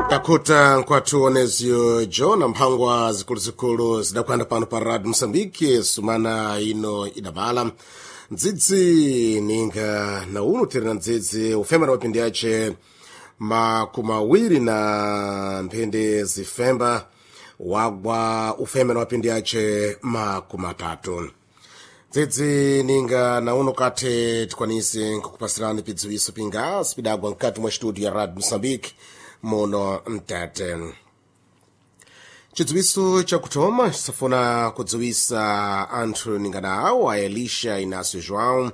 Takuta nkwathu onezio John mphangwa zikuluzikulu zidakwanda pano pa Radio Mosambike sumana ino idabala ndzidzi ninga na uno tiri na ndzidzi ufema na mapindi ace makumi awiri na mphindi zifemba wagwa ufema na mapindi ace makumi atatu. Dzidzi ninga na uno kati tikwanise nkukupasirani pidziwiso pingasi pidagwa mkati mwa studio ya Radio Mosambike muno mtete. Chidziwiso chakuthoma chisafuna kudziwisa anthu ningana awo a Elisha Inácio João,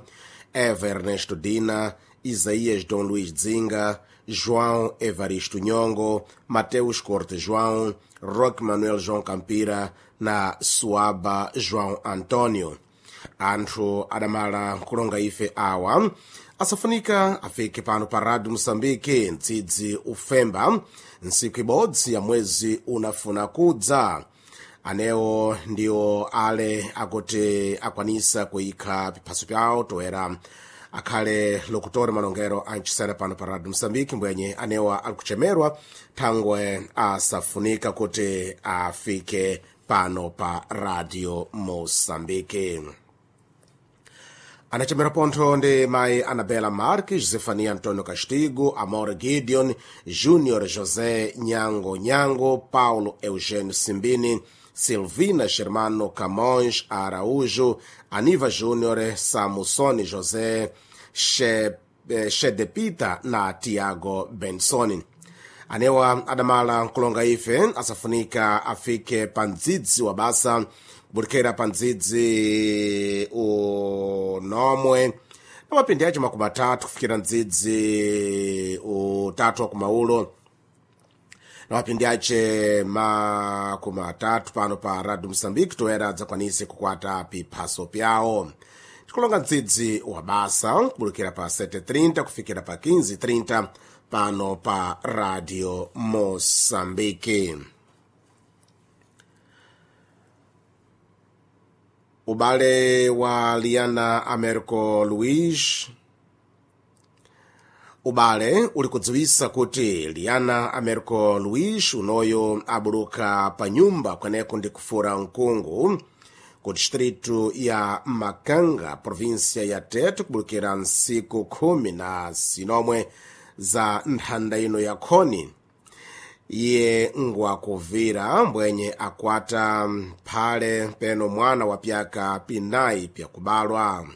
Eva Ernesto Dina, Isaías Dom Luís Dzinga, João Evaristo Nhongo, Mateus Corte João, Roque Manuel João Campira na Suaba João Antônio. Anthu adamala kulonga ife awa asafunika afike pano pa Radio Mosambike mdzidzi ufemba ntsiku ibodzi ya mwezi unafuna kudza. Anewo ndiwo ale akuti akwanisa kuyikha piphaso pyawo toera akhale lokutora malongero ancisera pano pa Radio Mosambike mbwenye anewa ali kuchemerwa thangwe asafunika kuti afike pano pa Radio Mosambike. Anachemera pontho ndi mayi Anabela Marques, Zefania Antonio Castigo, Amor Gideon, Júnior José Nyango Nyango, Paulo Eugênio Simbini, Silvina Germano Camões Araújo, Aniva Júnior, Samusoni José Shedepita na Tiago Bensoni. Anewa adamala nkulonga ife asafunika afike pa mdzidzi wa basa kubudikira pa mdzidzi unomwe na mapindi ace makumi atatu kufikira mdzidzi utatu wa kumaulo na mapindi ace makumi atatu pano pa Radio Mosambike toera adzakwanise kukwata piphaso pyawo. Tikulonga mdzidzi wa basa kubudikira pa 7:30 kufikira pa 15:30 pano pa Radio Mosambike. Ubale wa Liana Americo Luiz. Ubale uli kudziwisa kuti Liana Americo Luiz unoyo abuluka pa nyumba kweneko ndi kufura mkungu ku distritu ya Makanga, provinsia ya Tete, kubulukira nsiku 19 za nthanda ino ya khoni. Iye ngwakuvira mbwenye akwata mphale peno mwana wa pyaka pinayi pyakubalwa.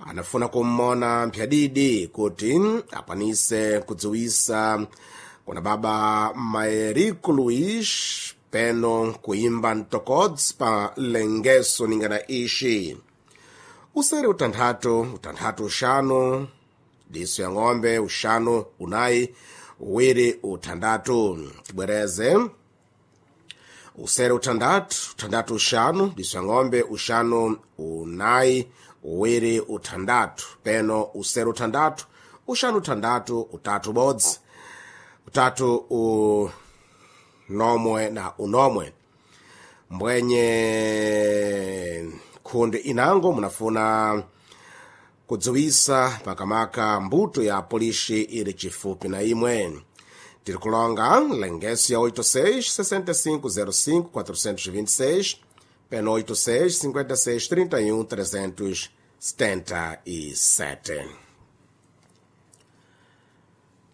Anafuna kummona mphyadidi kuti akwanise kudziwisa kuna baba Maerico Luiz peno kuimba mtokodzi pa lengeso ningana ixi. Usere utanthatu, utanthatu uxanu, diso ya ng'ombe uxanu unayi uwiri uthandatu. Tibwereze: usere uthandatu, uthandatu uxanu, diso ya ng'ombe uxanu unayi uwiri uthandatu, peno usere uthandatu, uxanu uthandatu, utatu bodzi, utatu unomwe na unomwe. Mbwenye khundi inango munafuna kudziwisa makamaka mbuto ya polishi ili chifupi na imwe. Tiri kulonga lengeso ya 86 65 05 426 peno 86 56 31 377.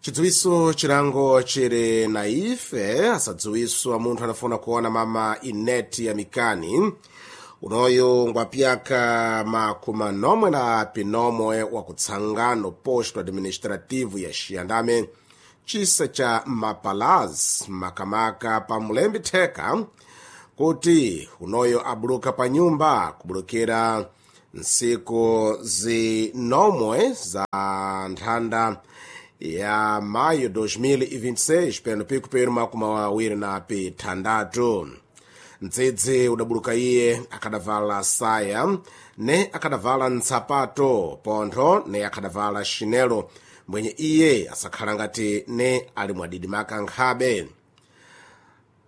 Chidziwiso chilango chili na ife asadziwiswa munthu anafuna kuona mama Ineti ya Mikani unoyo ngwapyaka makumi nomwe na pinomwe wa kutsangano posto administrativo ya Xiyandame chisa cha Mapalaz makamaka pa Mulembi Theka kuti unoyo abuluka pa nyumba kubulukira nsiku zinomwe za nthanda ya maio 2026 peno pikupero makumi awiri na pithandatu. Mdzidzi udabuluka iye akadavala saya ne akadavala ntsapato pontho ne akadavala xinelo mbwenye iye asakhala ngati ne ali mwadidimaka nkhabe.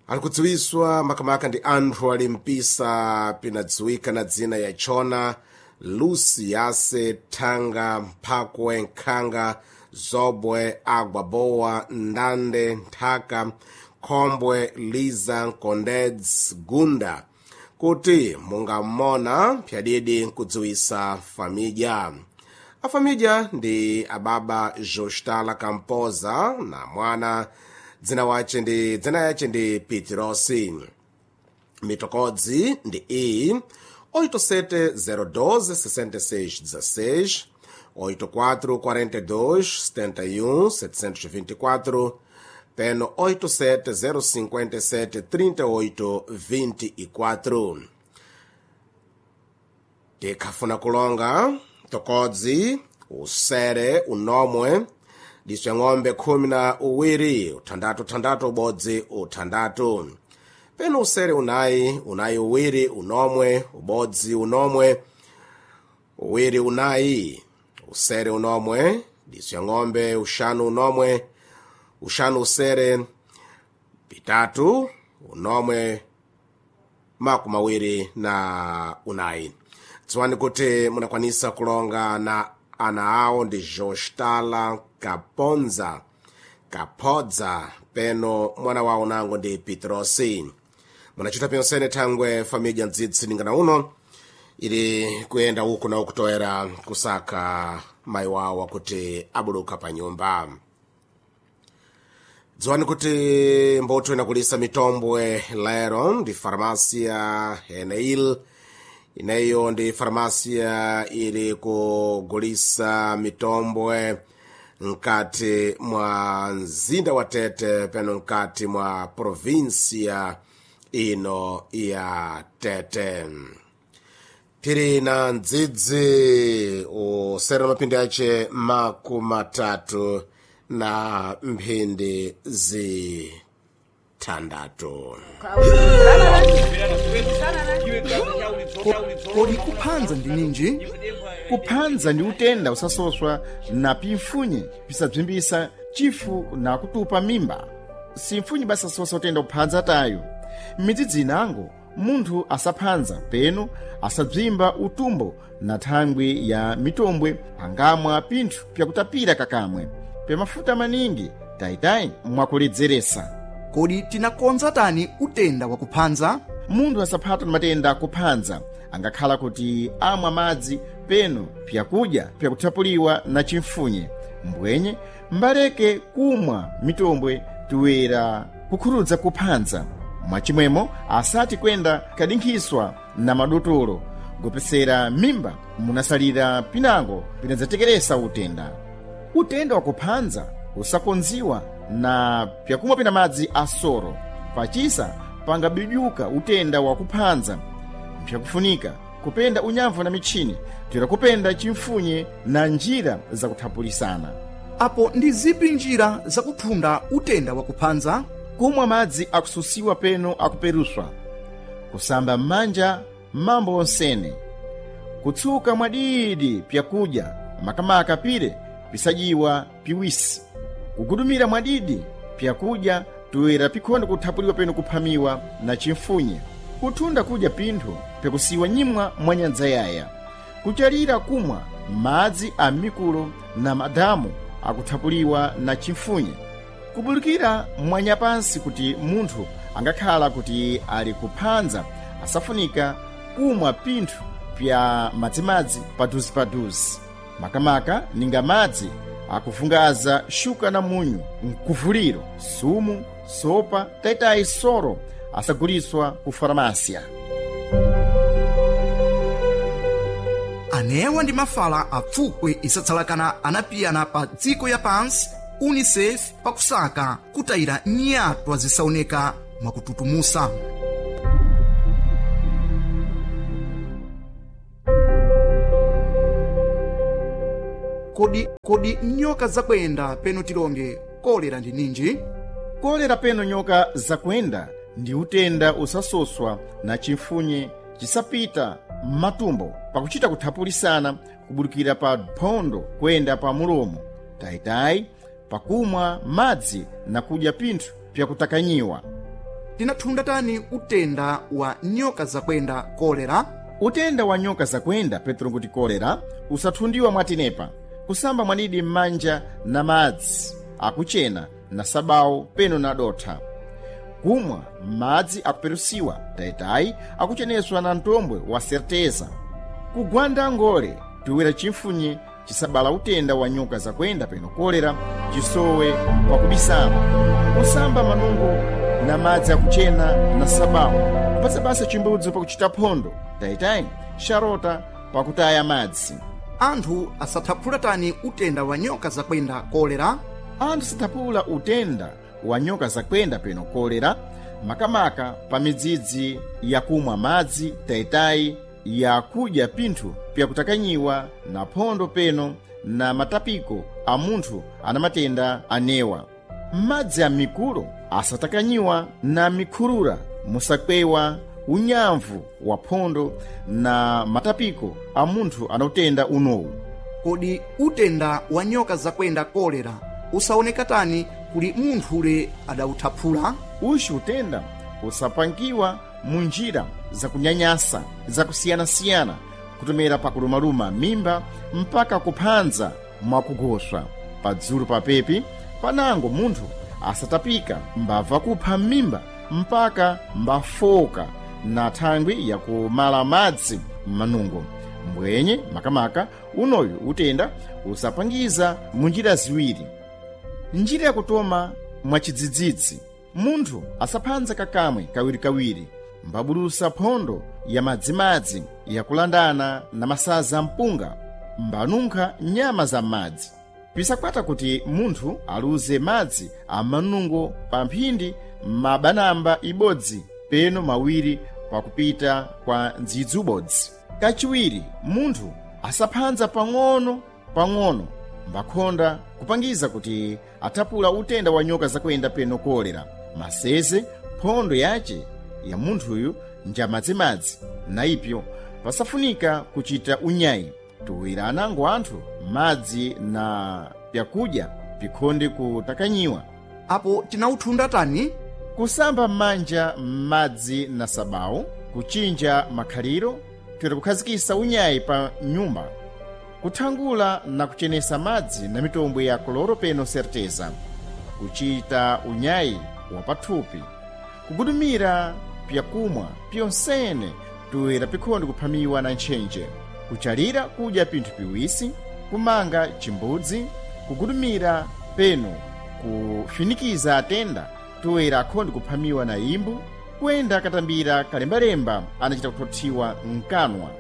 Ali kudziwiswa makamaka ndi anthu ali mpisa pinadziwika na dzina ya Chona Lucy Yase Thanga Mphakwe Nkhanga Zobwe, Agwabowa, Ndande, Nthaka, Khombwe, Liza, Nkondedzi, Gunda kuti mungamona pyadidi nkudziwisa famidya. Afamidya ndi ababa Jostala Kampoza na mwana dzina wace ndi dzina yace ndi Pitirosi. Mitokodzi ndi iyi 8702 6616 8442 71 724 peno 87057 38 24. Tikhafuna kulonga tokodzi usere unomwe diswe ng'ombe 12 uthandatu thandatu ubodzi uthandatu peno usere unayi unayi uwiri unomwe ubodzi unomwe uwiri unayi usere unomwe diso ya ng'ombe uxanu unomwe uxanu usere pitatu unomwe makumi awiri na unayi. Dziwani kuti munakwanisa kulonga na ana awo ndi Jostala Kaponza Kapodza peno mwana wawo nango ndi Petrosi. Munachita pyonsene thangwe famidya mdzidzi ningana uno ili kuyenda uku na ukutoera kusaka mayi wawo akuti abuluka pa nyumba. Dziwani kuti mbotho inakulisa mitombwe lero ndi farmasia Heneil. Ineyo ndi farmasia ili kugulisa mitombwe mkati mwa mzinda wa Tete peno mkati mwa provinsia ino ya Tete. Tiri na mdzidzi usera mapindi ace 32 na mphindi zithandatu. Kodi kuphanza ndi ninji? Kuphanza ndi utenda usasoswa na pimfunye pisabzimbisa chifu na kutupa mimba. Simfunye basasosa utenda kuphanza tayo. M'midzidzi inango munthu asaphanza peno asabzimba utumbo na thangwi ya mitombwe angamwa pinthu pyakutapira kakamwe pyamafuta maningi tayitayi mwakuledzeresa. Kodi tinakonza tani utenda wakuphanza? Munthu asaphatwa na matenda akuphanza angakhala kuti amwa madzi peno pyakudya pyakuthapuliwa na chimfunye mbwenye mbaleke kumwa mitombwe toera kukhurudza kuphanza. Mwachimwemo asati kwenda kadinkhiswa na madotolo gopesera mimba munasalira pinango pinadzatekeresa utenda. Utenda wakuphanza usakonziwa na pyakumwa pina madzi asoro pachisa pangabidyuka utenda wakuphanza. Mpyakufunika kupenda unyamvu na mitchini toera kupenda chimfunye na njira zakuthapulisana. Apo ndi zipi njira zakuthunda utenda wakuphanza? Kumwa madzi akususiwa peno akuperuswa, kusamba m'manja mambo onsene, kutsuka mwadidi pyakudya makamaka pire pisadyiwa piwisi, kugudumira mwadidi pyakudya toera pikhonde kuthapuliwa peno kuphamiwa na chimfunye, kuthunda kudya pinthu pyakusiwa nyimwa mwa nyadza yaya, kuchalira kumwa madzi a mikulo na madamu akuthapuliwa na chimfunye, kubulukira mwanyapansi kuti munthu angakhala kuti ali kuphanza asafunika kumwa pinthu pya madzimadzi paduzipaduzi makamaka ninga madzi akuvungaza shuka na munyu mkuvuliro sumu sopa taitayi soro asaguliswa ku faramasia. Anewa ndi mafala apfukwe isatsalakana anapiyana pa dziko ya pansi UNICEF pakusaka kutayira nyatwa zisaoneka mwakututumusa. Kodi nyoka zakwenda peno tilonge kolera ndi ninji? Kolera peno nyoka zakwenda ndi utenda usasoswa na chimfunye chisapita m'matumbo pakuchita kuthapulisana kubudukira pa phondo kuyenda pa mulomo tayitayi pakumwa madzi na kudya pinthu pyakutakanyiwa. Tinathunda tani utenda wa nyoka zakwenda kolera? Utenda wa nyoka zakwenda petro kuti kolera usathundiwa mwatenepa. Kusamba mwanidi m'manja na madzi akuchena na sabawu peno na dotha. Kumwa madzi akuperusiwa tayitayi akucheneswa na mtombwe wa certeza. Kugwanda ngole tuwira chimfunye chisabala utenda wa nyoka zakwenda peno kolera chisowe pakubisama. Kusamba manungo na madzi akuchena na sabawu. Kupatsa basa chimbudzi pakuchita phondo tayitayi xarota pakutaya madzi. Anthu asathaphula tani utenda wa nyoka zakwenda kolera? Anthu sathaphula utenda wa nyoka zakwenda peno kolera makamaka pa midzidzi yakumwa madzi tayitayi yakudya pinthu pyakutakanyiwa na phondo peno na matapiko a munthu ana matenda anewa. Madzi a mikulo asatakanyiwa na mikhulula musakwewa unyamvu wa phondo na matapiko a munthu ana utenda unowu. Kodi utenda wa nyoka zakwenda kolera usaoneka tani kuli munthule adawuthaphula? Uxi utenda usapangiwa mu njira zakunyanyasa zakusiyanasiyana kutomera pakulumaluma mimba mpaka kuphanza mwakugoswa padzulu papepi panango munthu asatapika mbava kupha mimba mpaka mbafoka na thangwi yakumala madzi m'manungo. Mbwenye makamaka unoyu utenda usapangiza mu njira ziwiri. Njira yakutoma mwachidzidzidzi, munthu asaphanza kakamwe kawirikawiri mbabulusa phondo ya madzimadzi yakulandana na masaza mpunga mbanunkha nyama za madzi. Pisakwata kuti munthu aluze madzi a manungo pa mphindi mabanamba ibodzi peno mawiri pakupita kwa ndzidzi ubodzi. Kachiwiri, munthu asaphanza pang'ono pang'ono mbakhonda kupangiza kuti athapula utenda wa nyoka zakwenda peno kolera. Maseze phondo yace ya munthuyu njamadzimadzi na ipyo pasafunika kuchita unyayi. Tuwira anango anthu madzi na pyakudya pikhonde kutakanyiwa. Apo tinawuthunda tani? Kusamba m'manja m'madzi na sabawu, kuchinja makhaliro, toera kukhazikisa unyayi pa nyumba, kuthangula na kuchenesa madzi na mitombwe ya koloro peno certeza, kuchita unyayi wa pathupi, kugudumira pyakumwa pyonsene toera pikhonde kuphamiwa na ntchentche, kuchalira kudya pinthu piwisi, kumanga chimbudzi, kugudumira peno kufinikiza atenda toera akhonde kuphamiwa na imbu, kuyenda katambira kalembalemba anachita kuthothiwa mkanwa.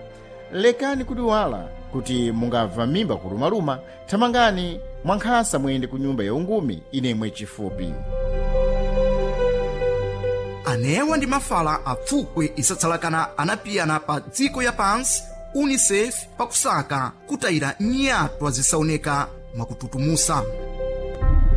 Lekani kudiwala kuti mungabva mimba kulumaluma, thamangani mwankhasa muyende ku nyumba yaungumi inemwe chifupi. Anewa ndi mafala apfukwe isatsalakana anapiyana pa dziko ya pansi UNICEF pakusaka kutayira nyatwa zisaoneka mwakututumusa.